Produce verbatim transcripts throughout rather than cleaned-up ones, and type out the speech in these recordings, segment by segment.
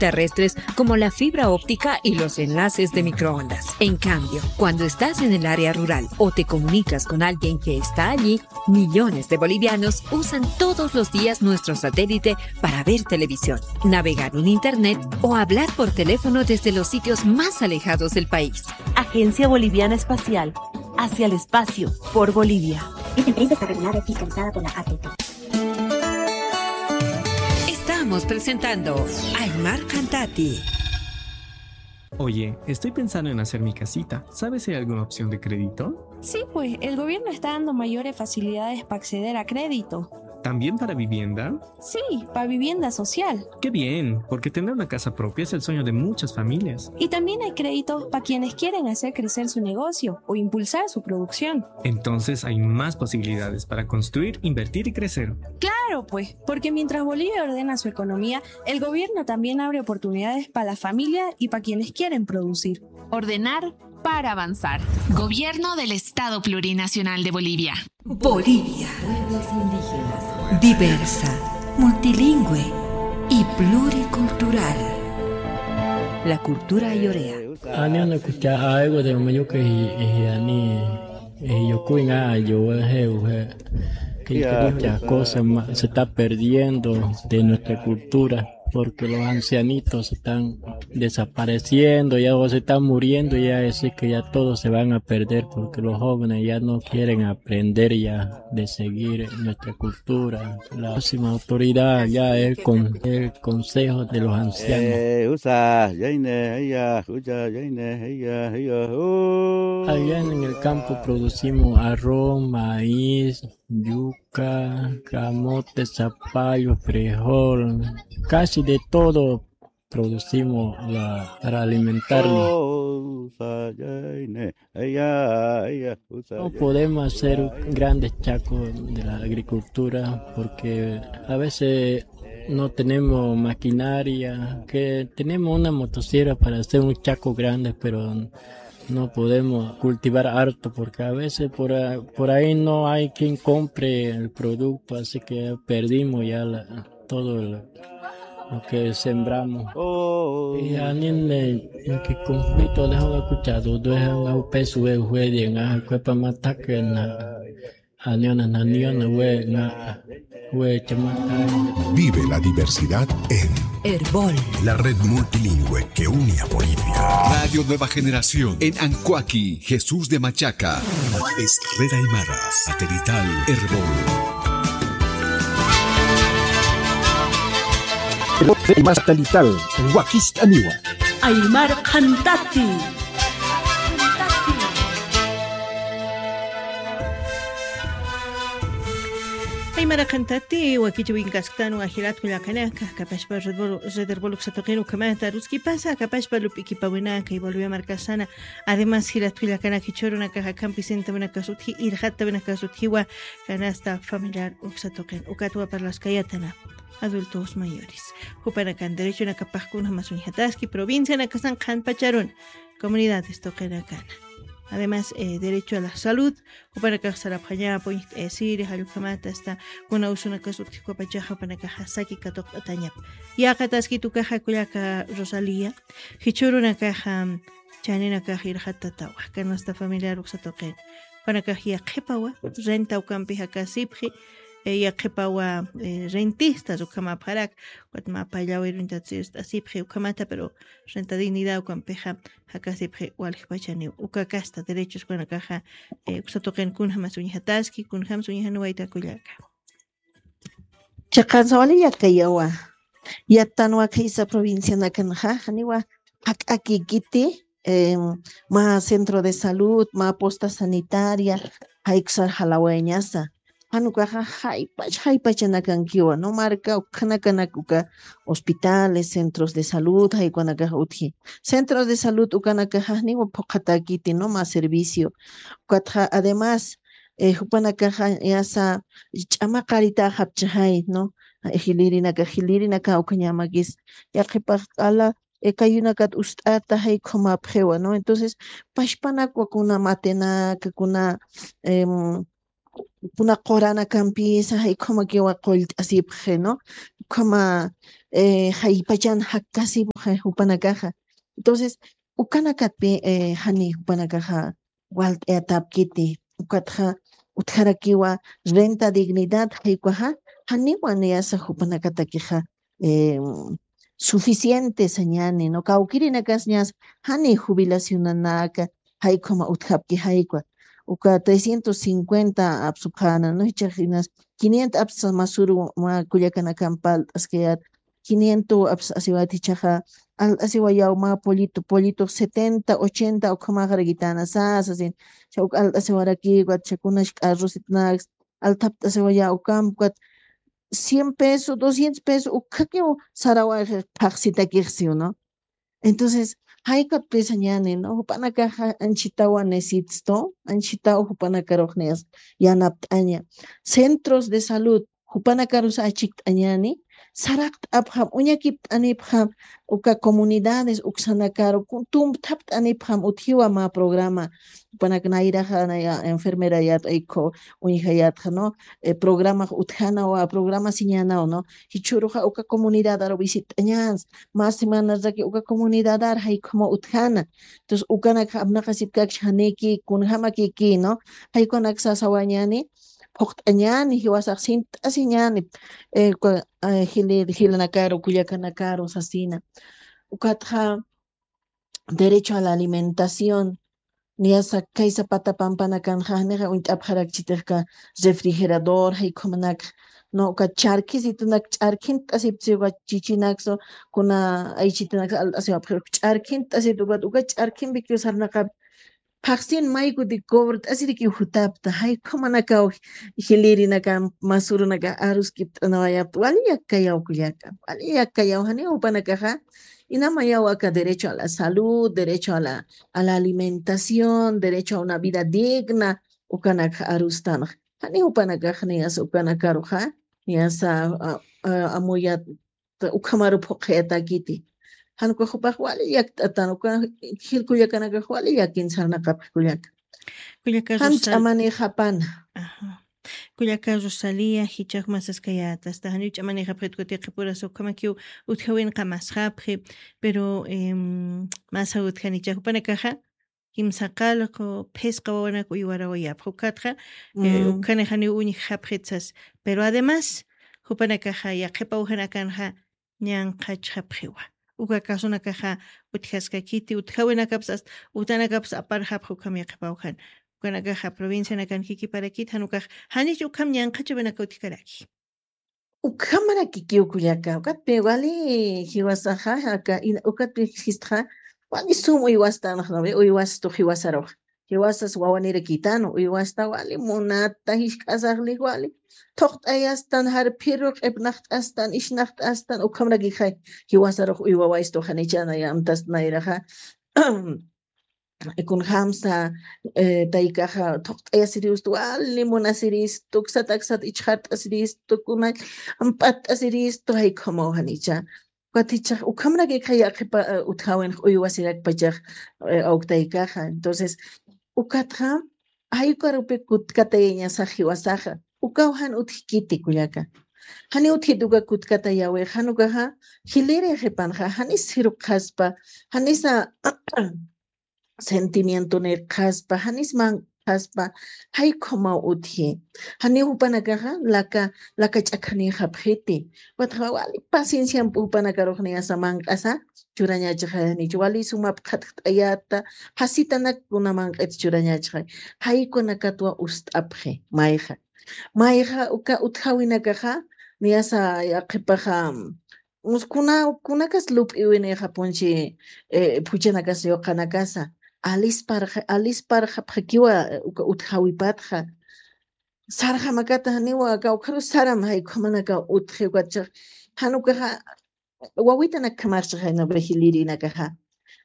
terrestres como la fibra óptica y los enlaces de microondas. En cambio, cuando estás en el área rural o te comunicas con alguien que está allí, millones de bolivianos usan todos los días nuestro satélite para ver televisión, navegar en Internet o hablar por teléfono desde los sitios más alejados del país. Agencia Boliviana Espacial, hacia el espacio, por Bolivia. Esta empresa está regulada y fiscalizada por la A T T. Estamos presentando Aymar Cantati. Oye, estoy pensando en hacer mi casita. ¿Sabes si hay alguna opción de crédito? Sí, pues, el gobierno está dando mayores facilidades pa acceder a crédito. ¿También para vivienda? Sí, pa vivienda social. Qué bien, porque tener una casa propia es el sueño de muchas familias. Y también hay créditos pa quienes quieren hacer crecer su negocio o impulsar su producción. Entonces hay más posibilidades para construir, invertir y crecer. Claro, pues, porque mientras Bolivia ordena su economía, el gobierno también abre oportunidades pa la familia y pa quienes quieren producir. Ordenar para avanzar. Gobierno del Estado Plurinacional de Bolivia. Bolivia. Pueblos indígenas. Diversa, multilingüe y pluricultural. La cultura ayorea. Ani una kucha aiwa de mayuka y, y ani, y yo kuinga yo he, he, que muchas cosas ma- se está perdiendo de nuestra cultura, porque los ancianitos se están desapareciendo, ya o se están muriendo, ya es que ya todos se van a perder, porque los jóvenes ya no quieren aprender ya de seguir nuestra cultura. La máxima autoridad ya es con el Consejo de los Ancianos. Eh, usa, yaine, heya, usa, yaine, heya, heya, uh. Allá en el campo producimos arroz, maíz, yuca, camote, zapallo, frijol, casi de todo producimos la, para alimentarnos. No podemos hacer grandes chacos de la agricultura porque a veces no tenemos maquinaria, que tenemos una motosierra para hacer un chaco grande, pero no podemos cultivar harto porque a veces por, a- por ahí no hay quien compre el producto, así que perdimos ya la- todo lo, lo que sembramos. Y anime, que conflicto de escuchado, de un peso de juegue, en la cuepa mata que na, aniona, naniona, we, na, we, chama. Vive la diversidad en Erbol, la red multilingüe que une a Bolivia. Radio Nueva Generación en Ancoaqui, Jesús de Machaca. Es Red Aymara, satelital, Erbol. Red Aymara satelital, Wakist'aniwa. Aymar Qhantati. Aymar Qhantati, wakichawin kasktan, wajilat kullakanaka, kapashpa Red Bull, Red Bull uksatuqin ukhamata, ruskipasa, kapashpa lup'ikipawinaka, y Bolivia markasana, además, jilat kullakanaka, jichhürunaka, jakampi sintawinaka sutji, irjatawinaka sutjiwa, canasta familiar uksatuqin, ukatwa parlaskayatana, adultos mayores. Jupanakan derechonakapaqkuna jamasunjataski, provincianakasan qhanpacharun, comunidades tuqinakana. Además, eh, derecho a la salud, jupanakax sarapxaña, puñjt'ayasiri, jallukhamata, hasta kuna usunakas utjikupachaxa, jupanakaxa saki katuqt'atañap. Yaqataskitukaxa kullaka Rosalía, jichhürunakaxa, chaninakax irjatatawa, canasta familiar uksatuqin. Jupanakax yaqhipawa, renta ukampi jakasipxi, eh, yaqhipawa, eh, rentistas ukhamapxarak, ukat mä pallawiruntat sirst'asipxi ukhamata, pero renta dignidad ukampixa, jakasipxi waljpachaniw, uka kasta derechos jupanakaxa, eh, uksatuqin kunjamas uñjataski, kunjamas uñjaniwayta kullaka. Chiqansa wali yatkayawa. Yattanwa khaysa provincianakanxa, janiwa jak'akikiti, em, mä centro de salud, mä posta sanitaria, jaykusar jalawayañasa. Jan ukaxa jaypach, jaypachanakankiwa, ¿no? Marka ukhanakanak uka hospitales, centros de salud, jaykuwanakax utji. Centros de salud ukanakaxa janiwa phuqhatäkiti, ¿no? Mä servicio. Ukatxa, además, eh, jupanakaxa yasa ch'amaqaritaxapchixay, ¿no? Jilirinaka, jilirinaka ukañamakis. Yaqhipax q'ala, eh, kayunakat ust'ata, jay ukhamapxiwa, ¿no? Entonces, pachpanakwa kuna matenaka, kuna, em, kuna quranakampisa, jay ukhamakiwa qullt'asipxi, ¿no? Ukhama, eh, jaypachan jakkasipuxa jupanakaxa. Entonces, ukanakatpi, eh, jani jupanakaxa walt'ayatapkiti, ukatxa utjarakiwa renta dignidad jaykuxa, janiwa niyasa jupanakatakixa, eh, suficiente sañani, ¿no? Kawkirinakas ñas jani jubilacionanaka, jaykuma utjapki jaykwa. Uka trescientos cincuenta apsupxana, ¿no? Jichhax inas quinientos apsa masuru ma kullakanakan palt'askayat, quinientos apsa asiwat jichhaxa, alt'asiwayaw ma pollito, pollito setenta, ochenta ukhamaxarakitana sasa, sin, cha uk alt'asiwarakiwat, cha kunash carrositnaks, altapt'asiwayaw ukamkwat, cien pesos, doscientos pesos, ukhakiw sarawax phaxsitakixsiw, ¿no? Entonces, jaykat pisañani, ¿no? Jupanakaxa anchitawa necesito, anchitaw jupanakarux niyas yanapt'aña. Centros de salud, jupanakarus achikt'añani, saraqt'apxam, uñakipt'anipxam, uka comunidades, uksanakaru, ku-, tumpthapt'anipxam, utjiwa ma programa, jupanak nayraxa, naya enfermerayat, ayku, uñjayatxa, ¿no? Eh, programax utjanawa, programa siñanaw, ¿no? Jichhüruxa uka comunidadar visit'añans, mä semanaraki uka comunidadar jaykhuma utjana. Entonces, ukanakxa apnaqasipkakchi janiki, kunjamakiki, ¿no? Jaykunak sasawañani, phuqt'añani, jiwasax sint'asiñani, eh, uka, eh, jili-, jilanakaru, kullakanakaru sasina. Ukatxa, derecho a la alimentación. Niyasa kaysa pata pampanakanxa, janixa uñt'apxarakchitixka refrigerador, jaykhamanak, no, uka ch'arkhisitunak, ch'arkhint'asipsi uka chichinaksu, kuna aychitunaksa alt'asiwapxi, ch'arkhint'asitu ukat, uka ch'arkhimpiki sarnaqap, phaxsin maykuti cobrt'asiriki jutapta, jaykhamanak jilïrinaka, masurunaka aruskipt'anawayapta, wali yakkayaw kullaka, wali yakkayaw, jani jupanakaxa, inamayaw aka derecho a la salud, derecho a la, a la alimentación, derecho a una vida digna, ukanak arustanxa. Jani jupanakax niyasa ukanakaruxa, niyasa, a, a, amuyat, ukhamaru phuqhayatakiti. Jan ukax jupax wali yakt'atan, uka jil kullakanakax wali yakin sarnaqapxi kullaka. Kullaka Jan Rosal- ch'amanixapana. Ajá. Kullaka Rosalía, jichhax masaskayätasta, janiw ch'amanixapxit kuti qhipurasa ukhamakiw utjawinxa masxapxi, pero, em, masa utjanicha jupanakaxa, kimsa qallqu, phisqa wawanak uywarawayapxi. Ukatxa, eh, Mm. ukhanix janiw uñjapxit sas. Pero además, jupanakaxa yaqhip awjanakanxa ñanqhachxapxiwa. Uka casunakaxa utjaskakiti, utjawinakapsa ast-, utanakapsa aparxapxi ukham yaqhip awjan. Ukanakaxa provincianakan kikiparakiti, jan ukax, janich ukham ñanqhachawinaka utjkaraki. Ukhamarakikiw kullaka, ukatpi wali jiwasaxa, aka, ina-, ukatpi jistxa, wali sum uywastanxa, ¿no ve? Uywastux jiwasarux. Jiwasas wawanirakitanu, uywasta wali munata, jisk'asaxli wali. Thuqt'ayastan, jarphiru, q'ipnaqt'astan, ishnaqt'astan, ukhamarakixa, jiwasarux uywawaystu, janichana yamtast nayraxa. Kunjamsa, eh, taykaxa thuqt'ayasiristu, wali munasiristu, ksat aksat ichxart'asiristu, kuna amp'att'asiristu, jaykhamaw janicha. Ukat jichhax, ukhamarakixa yaqhipa, eh, utjawinx uywasirakpachax, eh, awk taykaxa. Entonces, ukatxa, jaykarupi kutkatayañasax jiwasaxa. Ukaw jan utjkiti kullaka. Jani utjit uka kutkatayäwix, jan ukaxa, jilïri qhipanxa, janis jiruqaspa, janisa, sentimientonïqaspa, janis manq'aspa, jaykhamaw utji. Janiw jupanakaxa laka, laka ch'akhanïxapxiti. Ukatxa wali pacienciampi jupanakarux niyasa manq'asa churañachaxa, janicha wali sumap qhatjt'ayäta, jasitanak kuna manq'it churañachaxa. Jaykunakatwa ust'apxi, mayxa. Mayxa uka utjawinakaxa, niyasa yaqhipaxa, Us kuna, kunakas lup'iwinïxapunchi, eh, phuchanakas yuqanakasa. Alisparxa-, alisparxapxakiwa, eh, uka utjawipatxa. Sarxamakata janiwa, kawkharus saram jaykhamanak utji ukatchax. Jan ukaxa, wawitanak khamarchax jayna jilïrinakaxa.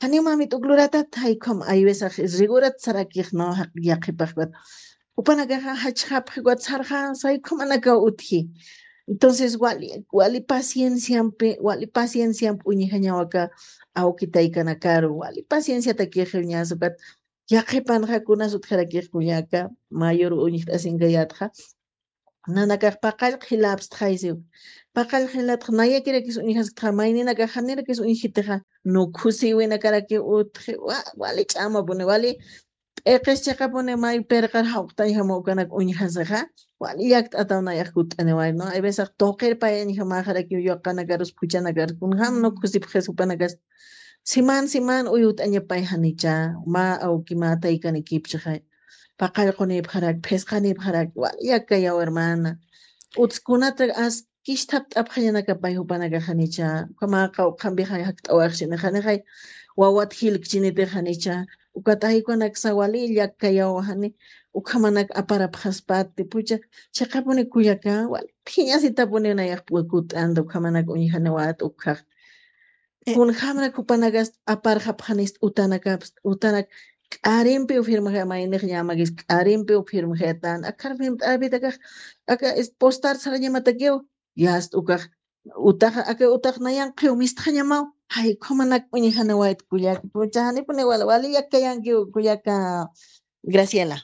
Janiw mamit uk luratat jaykham aywisax, rigurat sarakix, ¿no? Jaq-, yaqhipax ukat. Jupanakaxa jachxapxi ukat sarxan, jaykhamanak utji. Entonces, wali, wali pacienciampi, wali pacienciampi uñjañaw aka awki taykanakaru, wali pacienciatakixi uñasa ukat, yaqhipanxa kunas utjarakix kullaka, mayor uñjt'asinkayätxa. Nanakax paqallq jilapstxaysiw. Paqallq jilaptx nayakirakis uñjasktaxa, mayninakax janirakis uñjitixa, nukhusiwinakarakiw utji, wa-, wali ch'amapuni, wali p'iqis chiqapuni, may pirqar jawqtañjama ukanak uñjasixa, wali llakt'ataw nayax kutt'aniway, ¿no? Hay veces tuqir payañjamaxarakiw, yuqanakarus, phuchhanakarus, kunjam nukhusipxis jupanakas, siman, siman uyut'añapay janicha, mä awki mä taykanikipchixay. Paqallqunipxarak, phisqanipxarak, wali llakkayaw, hermana. Utskunata as kisthapt'apxañanakapay jupanakax janicha, ukhamaxa, ukhampixa jakt'awaxchini, janixay wawat jilkchinitix janicha, ukat jaykuwanaksa wali llakkayaw, jani ukhamanak aparapxaspati, phuchha, chiqapuni kullaka, wali phiñasitapuni nayax kutt'anta, ukhamanak uñjaniwat ukhax. Eh, kunjamrak jupanakas aparxapxanist utanakapst, utanak k'arimpiw firmxay, maynix ñamakis k'arimpiw firmxaytan, akar firmt'arapitakax, aka es postar sarañamatakiw, yast ukax, utaxa, aka utax nayanqiw mistxañamaw, jay, ukhamanak uñjanawayt kullak, phuchha, janipuni wal-, wali llakkayankiw kullaka, Graciela.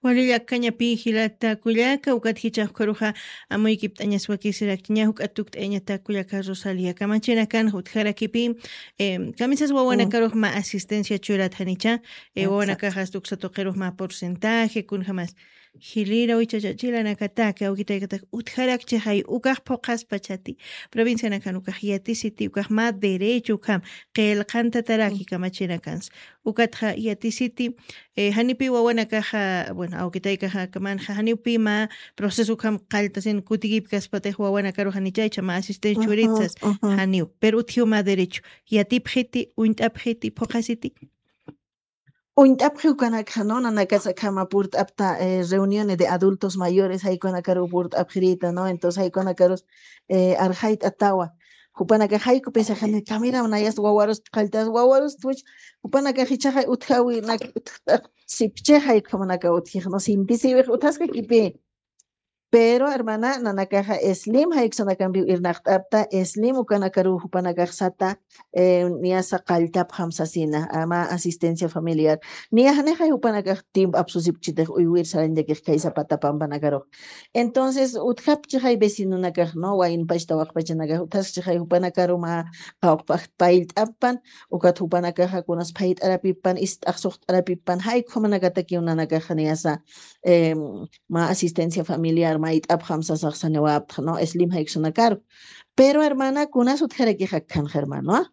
Wali llakkañapi jilata kullaka, ukat jichhax ukharuxa amuykipt'añas wakisirakchi, ña juk'at tukt'ayañata kullaka Rosalia. Kamachinakan utjarakipi, em, kamisas wawanakarux mä asistencia churat janicha, eh, wawanakax asta uksa tuqirux mä porcentaje, kunjamas jilira wichachachilanakatak, awki taykatak utjarakchixay, ukax phuqhaspachati, provincianakan ukax yatisiti, ukax mä derecho ukham qillqantataraki kamachinakansa. Ukatxa yatisiti, eh, janipi wawanakaxa, bueno, awki taykaxa kamanxa, janipi mä proceso ukham qalltasin kutikipkaspatix wawanakaru janicha, icha mä asistencia churitsas, janiw. Pero utjiw mä derecho. Yatipxiti, uñt'apxiti, phuqhasiti. Uñt'apxi ukanakxa, ¿no? Nanakas akhama purt'apta, eh, reuniones de adultos mayores, jaykuwanakaru purt'apxirita, ¿no? Entonces, jaykuwanakarus, eh, arxayt'atawa. Jupanakax jaykupisa, jani kamira nayas wawarus qalltas, wawarus tuch, jupanakax jichhaxa utjawi, nak, utjta, sipchix jaykumanaka utjix, ¿no? Simpisiwix utjaskakipi. Pero, hermana, nanakaxa Slim jayksanakampiw irnaqt'apta, Slim ukanakaru jupanakax sata, eh, niyasa qalltapxam sasina, ama asistencia familiar. Niya janixay jupanakax tiempo apsusipchitix uywir sarañtakix kay Zapata pampanakarux. Entonces, utjapchixay vecinonakax, ¿no? Waynpachta waqpachanakax, utjaskchixay jupanakaru mä qawqpax payllt'appan, ukat jupanakaxa kunas phayt'arapipan, ist'ax suxt'arapipan, jaykumanakatakiw nanakaxa niyasa, em, mä asistencia familiar mayt'apxam sasax saniwaptxa, ¿no? Slim jayksanakarux. Pero, hermana, kunas utjarakix akhanxa, hermano, ¿ah?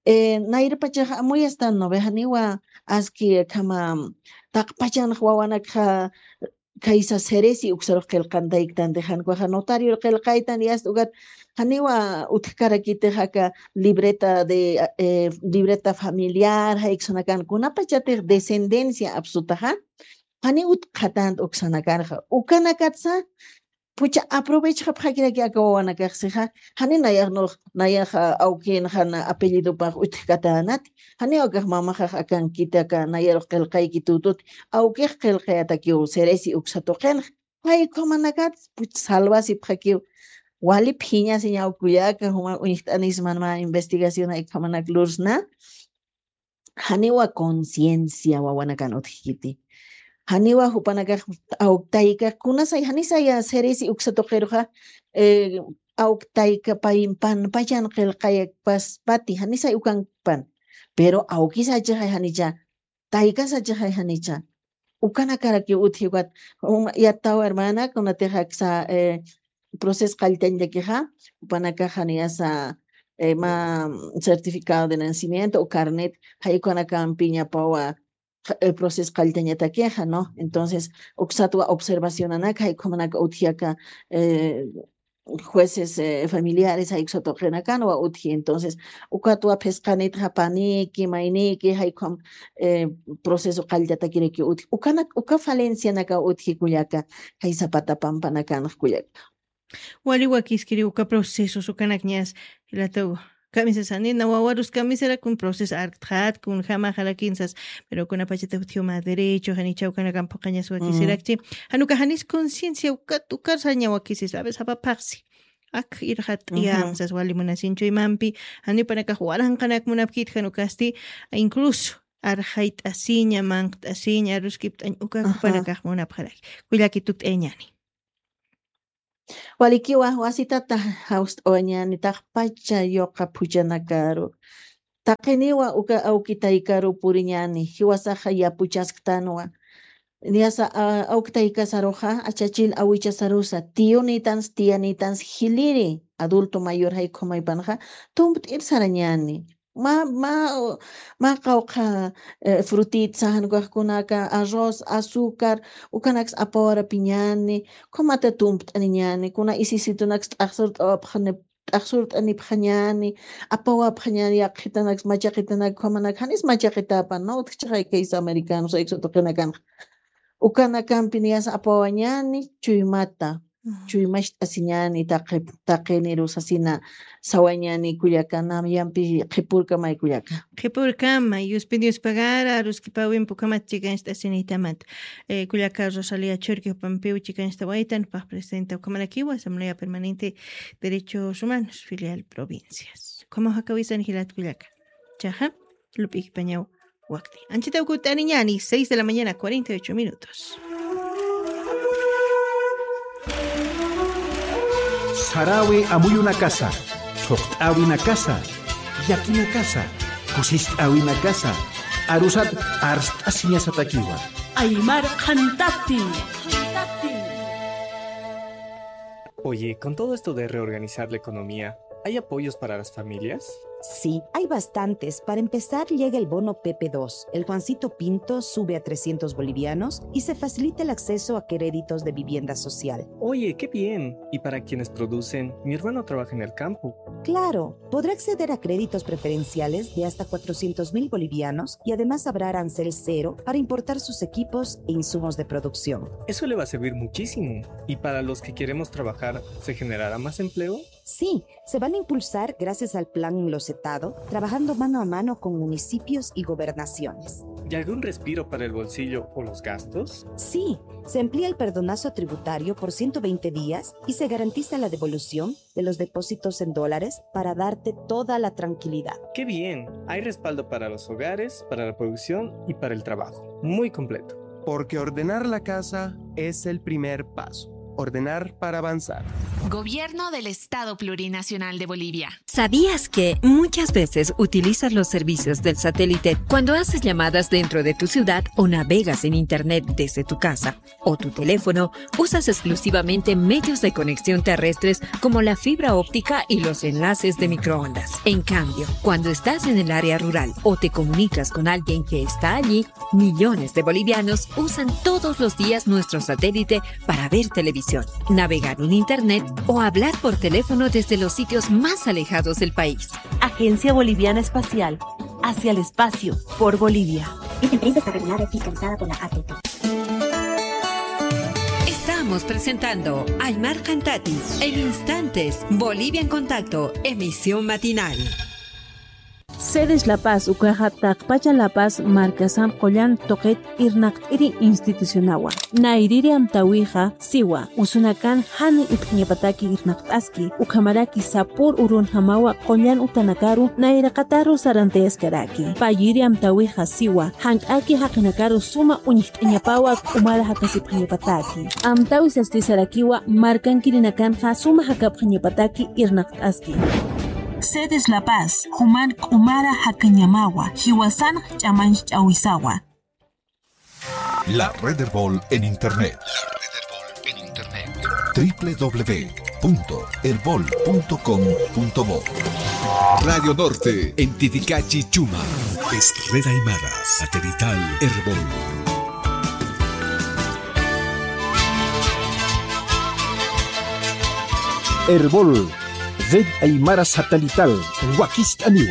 Eh, nayrapachaxa amuyastan, ¿no ve? Janiwa aski akhama taqpachanx wawanakxa kaysa seresi uksarux qillqantayktanti, jan ukaxa notario qillqaytan, yast ukat janiwa utjkarakitix aka libreta de, eh, libreta familiar, jayksanakan kunapachatix descendencia apsutaxa, jani utjkatanta uksanakanxa. Ukanakatsa, phuchha aprovechxapxakiraki aka wawanakaxsixa, jani nayax nux, nayax, ah, awkinxa na apellidopax utjkatänati, jani ukax mamaxax akankiti aka nayarux qillqayki tutut, awkix qillqayatakiw seresi uksa tuqinxa. Jaykhumanakat, phuchha salvasipxakiw. Wali phiñasiñaw kullaka, juma uñjt'anisman mä investigación jaykhamanak lursna. Janiwa conciencia wawanakan utjkiti. Janiwa jupanakax awk tayka kunasay, janisaya seresi uksa tuqiruxa, eh, awk tayka pay panpachan qillqaypaspati, janisay ukanpan. Pero awkisachixay janicha, taykasachixay janicha. Ukanakarakiw utji ukat, um, yattaw hermana, kunatix aksa, eh, proceso qalltañtakixa, jupanakaxa niyasa, eh, mä certificado de nacimiento o carnet, jaykuwanakampiñapawa, ja-, eh, proceso qalltañatakixa, ¿no? Entonces, uksatwa observacionanak, jaykumanaka utji aka, eh, jueces, eh, familiares, jaykusa tuqinakanwa utji. Entonces, ukatwa phisqanitxa paniki, mayniki, jaykum, eh, proceso qalltatakiraki utji. Ukanak, uka falencianaka utji kullaka, jay Zapata pampanakanx kullaka. Wali wakiskiri uka procesos ukanak ñas, jilataw, kamisasani, na wawarus kamisara kun proceso arktxat, kunjamaxarakinsas, pero kunapachatix utjiw mä derecho, janicha ukanakan phuqañas wakisirakchi, jan uka janis conciencia ukat, ukar saña wakisis, a veces apaphaxsi. Ak irxat t'iyamsas wali munasinchu imampi, jani panakax waranqanak munapkit jan ukasti, incluso arxayt'asiña, manqt'asiña, aruskipt'añ uka jupanakax munapxaraki. Kullaki tukt'ayañani. Walikiwa, wasitata jawst'awañäni taqpacha yuqa phuchhanakaru. Taqiniwa uka awki taykaru puriñäni, jiwasaxa yapuchasktanwa. Niyasa, a, awki taykasaruxa, achachil awichasarusa, tiyunïtansa, tiyanïtansa, jiliri, adulto mayor jay ukhamaypanxa, tumpt'ir sarañäni. Mä, mä, mä qawqha, eh, frutita, jan ukax kunaka, arroz, azúcar, ukanaksa apawarapiñäni, ukhamata tumpt'aniñäni, kuna isisitunaksa t'axsurt'awapxani, t'axsurt'anipxañäni, apawapxañäni, yaqhitanaksa, machaqitanak, ukhamanak, janis machaqitäpan, ¿no? Utjchixay kaysa americanos, ayqsu tuqinakanxa. Ukanakampi niyasa apawañäni, chuymata. Chuymacht'asiñäni taqi, taqiniru sasina sawañäni kullaka, namyampi qhipürkamay kullaka. Qhipürkamay, Diospi Dios pagara, aruskipawimpi ukhamat chikancht'asinïtamat. Eh, kullaka Rosalía Churqui jupampiw chikancht'awaytan, jupax presidenta ukhamarakiwa, Asamblea Permanente Derechos Humanos, filial provincias. Ukhamaw jakawisan jilat kullaka. Chaxa, lup'ikipañaw wakti. Anchitaw kutt'aniñäni, seis de la mañana, cuarenta y ocho minutos. Saräwi amuyunakasa, thuqt'äwinakasa, llakinakasa, kusist'äwinakasa, arusat arst'asiñasatakiwa. Aymar qhantati. Oye, con todo esto de reorganizar la economía, ¿hay apoyos para las familias? Sí, hay bastantes. Para empezar, llega el bono P P dos. El Juancito Pinto sube a trescientos bolivianos y se facilita el acceso a créditos de vivienda social. Oye, qué bien. ¿Y para quienes producen? Mi hermano trabaja en el campo. Claro, podrá acceder a créditos preferenciales de hasta cuatrocientos mil bolivianos y además habrá arancel cero para importar sus equipos e insumos de producción. Eso le va a servir muchísimo. ¿Y para los que queremos trabajar, se generará más empleo? Sí, se van a impulsar gracias al plan Locetado, trabajando mano a mano con municipios y gobernaciones. ¿Y algún respiro para el bolsillo o los gastos? Sí, se amplía el perdonazo tributario por ciento veinte días y se garantiza la devolución de los depósitos en dólares para darte toda la tranquilidad. Qué bien, hay respaldo para los hogares, para la producción y para el trabajo. Muy completo. Porque ordenar la casa es el primer paso. Ordenar para avanzar. Gobierno del Estado Plurinacional de Bolivia. ¿Sabías que muchas veces utilizas los servicios del satélite cuando haces llamadas dentro de tu ciudad o navegas en Internet desde tu casa o tu teléfono? Usas exclusivamente medios de conexión terrestres como la fibra óptica y los enlaces de microondas. En cambio, cuando estás en el área rural o te comunicas con alguien que está allí, millones de bolivianos usan todos los días nuestro satélite para ver televisión, navegar en Internet o hablar por teléfono desde los sitios más alejados del país. Agencia Boliviana Espacial, hacia el espacio, por Bolivia. Esta empresa está regulada y fiscalizada por la A T T. Estamos presentando Aymar Cantati. En instantes, Bolivia en Contacto, emisión matinal. Cedes La Paz ukaxa taqpacha La Paz markasamp qullan tuqit irnaqt'iri institucionawa. Nayrïri amtäwixa siwa, usunakan jani utjñapataki irnaqt'aski, ukhamaraki sapür urunjamawa qullan utanakaru nayraqataru sarantayaskaraki. Payïri amtäwixa siwa, jank'aki jaqinakaru suma uñjt'añapawa k'umara jakasipxañapataki. Amtäwi sasti sarakiwa, markankirinakanxa suma jakapxañapataki irnaqt'aski. Cedes La Paz, juman k'umara jakañamawa, jiwasan ch'amanch'awisawa. La Red Erbol en Internet. La Red Erbol en Internet. W W W punto erbol punto com punto bo. Radio Norte en Titicachi, Chumá. Es Red Aymara Satelital Erbol. Erbol, Red Aymara Satelital, wakist'aniwa.